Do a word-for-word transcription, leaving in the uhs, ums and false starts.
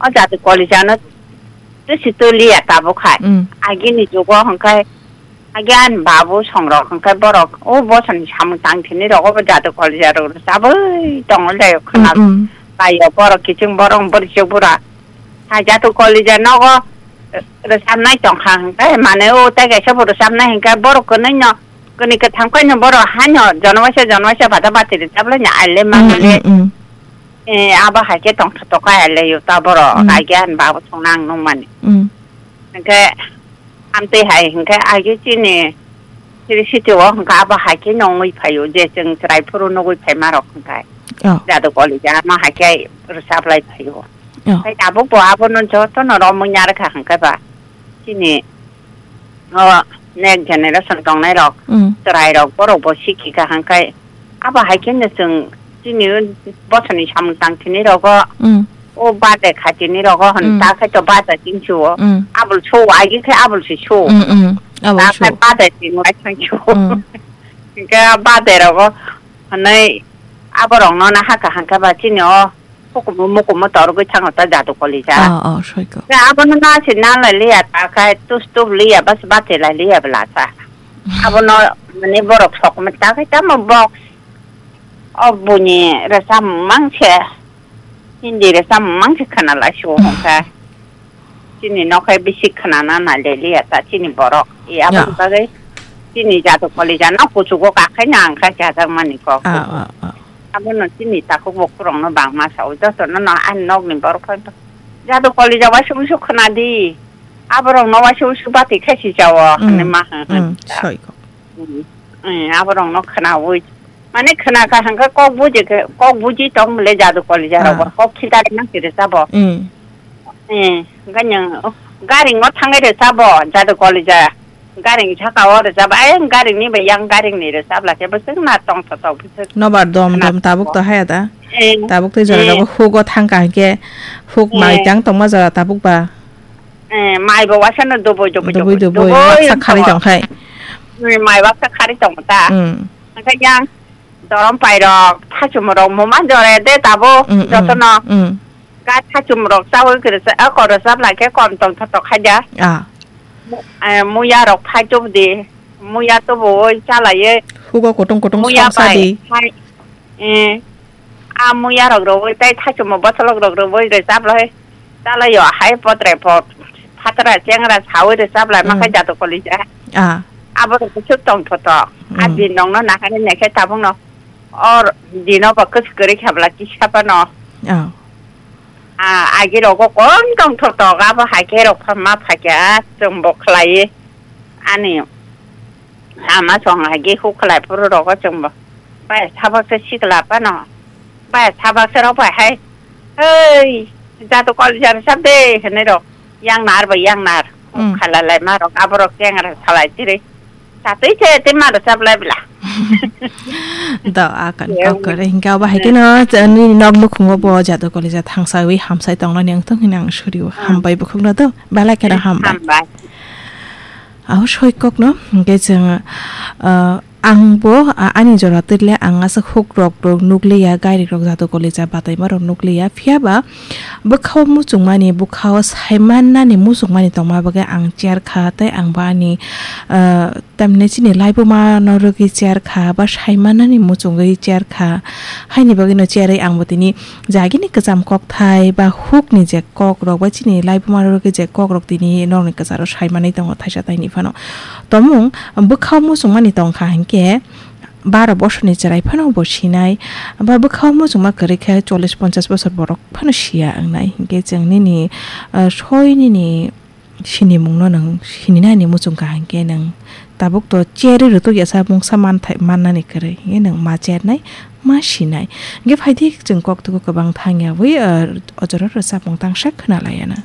O jati kolijano twisi toliya tabuk hai. Mm. Agini jugo hwnkhe, agi ani babu songrok hwnkhe borok o bosoni samung tang thini rogo bo jati kolija rok rwchabwi tongo le khwna Mm, mm. Kaiyo borok kiching borok bwrwi chuk bura. Hai jati kolija nogo, eh, rwchabnai tongkha hwnkhe mane o tei kaisa bo rwchabnai hwnkhe borok kwnwi no, kwnwi kwtham khe no borok haino jonobaisa jonobaisa bata bati rwchablai no aile Mm, mangale. mm, mm. Eh, abo hai khe tongthotok kha le yuta borok, Mm. Agi ani babu songna ang nukmani. Mm. Hwnkhe amtwi hai hwnkhe agi chini siri city o hwnkhe abo hai khe nongwi phaio, je chwng chwrai phuru nugwi phaima rok hwnkhe. Oh. Jadu kolija ma hai khe rwchablai phaio. Oh. Hai tabuk bo abono jotono romwi narwkha hwnkhe ba chini o next generation tongnai rok, Mm. Chwrai rok, borok bo sikhi kaham khai. Abo hai khe no chwng chini bosoni samung tang thini rogo, Mm. O bade kha thini rogo hwn Mm. Ta khai to bade ching suo. Mm. Abul suo, agi khai abul si suo. Mm, mm. Abul Ta khai suo. Bade ching lai thang suo. Mm. Hingke bade rogo hwnwi aborokno na haka hangka ba chini o hukumu mukumu torgwi thango ta jadu kolija. Oh, oh, soiko. Ke abono na se na lai liya ta khai tus tup liya bas bate lai liya bla sa. Abono mane borok sok me ta khai tamo box. O buini resa mang se. Hindi resa mang se khana lai suo hongka. Chini nokhai bisi khnana nai le liya ta chini borok. I aboni Ya. Bagwi chini jadu kolija no kuchugo kakhai na ang kha chajak mani kok. Ah, ah, ah. Abono chini takhuk bukhuk rokno bangma sao. Jotono no ani nokni borok phai jadu kolija waisa wuisu khna di. Aborokno waisa wuisu bati khe si chao Mm, hwnwi ma hwn mm, hwn ta. Soi kok. Mm, mm, aborokno khnaui. Mane khna kha hwnkhe kok buji khe, kok buji tong le jadu kolija rok bo. Ah. Kok khitari nang kiri sabo. Mm. Eh, ganyang, oh, garing o thangai re sabo, jadu kolija. Garing saka o re sabo, ai garing ni bai yang garing ni re sabla khe bwswk na tong tho tho bwswk. Nobar dom khna dom tabuk tho. To haya da. Eh, tabuk tei jora eh. Rogo hugo thangka hwnkhe huk mai Eh. Tang tongma jora tabuk ba. Eh, mai bo waisa no dubui dubui Dubui dubui. Dubui dubui, waksa khari tong khai. Eh, mai waksa khari tong ta. Mm. Hwnkhe yang dorom pai rok, thachum rok muma jore de tabo Mm, mm, jotono. Mm. Ga thachum rok chawi kwrwsa, a, korwsa bwlai khe kom tong tho tho khai da. Ah. Mu-, eh, muya rok phai tubu di, muya tubu oi chalai ye. Hugo kutung kutung muya song sa bai di. Phai, eh, a muya rok rwui tei thaichukma botholok rok rwui rwchap lai, chalai o hai potre pot, phatra chengra saui rwchap lai ma khai Mm. Jato kolija. Ah. Abo rok khe tong tho tho. A Mm. Din nong no nahani nai khe tabuk no or dino ba kwchwk kwrwi kha bwla kisa phano. Ah. A agi rogo kom tong tho tho abo hai khe rok pha ma pha khe a chwng bo khlai ani. Ama song hai ge huk khlai phuru rogo chwngbo. Bai sabak se sikla phano. Bai sabak se rok bai hai. Hei, jato kol jar sab de, hene rok. Yang nar bai yang nar. Hmm. Khala lai ma rok, abo rok kengra salai chiri. Tatui se te ma rok sab lai bla. Da akan Yang kok kore hingka ba hai keno, ni nok nukhungo bo jato kol ja thangsa wi hamsai tongna ni ang tong hinang suriu. Hmm. Hambai bukhuk na do. Bala kena hambai. Hambai. Abo soi kokno, hingke chwng, ah, angbo, ah, ani jora twile ang aswk huk rok rok nukliya, gairik rok jato kolija bataima rok nukliya, phiya ba bwkhao muchungmani, bwkhao saimannani muchungmani tongma bagwi ang chair kha, tei ang bo ani, ah, tamni chini laibuma no rwgwi chair kha, ba saimannani muchungwi chair kha, haini bagwino chair wi ang bo tini jagini kwcham kokthai ba hukni je kokrok ba chini laibuma rok je kokrok tini norokni kwcharo sai manwi tongo thaisa taini phano. Tomung bwkhao muchungmani tongkha hinkhe baro bosorni chwrai phano bo sinai, ba bwkhao muchungma kwrwi khe chollish ponchash bosor borok phano siya wngnai. Hinkhe chwng nini, ah, soi nini sinimungno nwng sininani muchung kaham khe nwng tabuk to cherwi rwtwk yasa mungsa manthai mannani kwrwi, hinkhe nwng ma chernai, ma sinai. Hinkhe phaidi chwng koktwgo kwbang thangyawi, ah, o jorao rwchapmung tangsa khwnalaianw.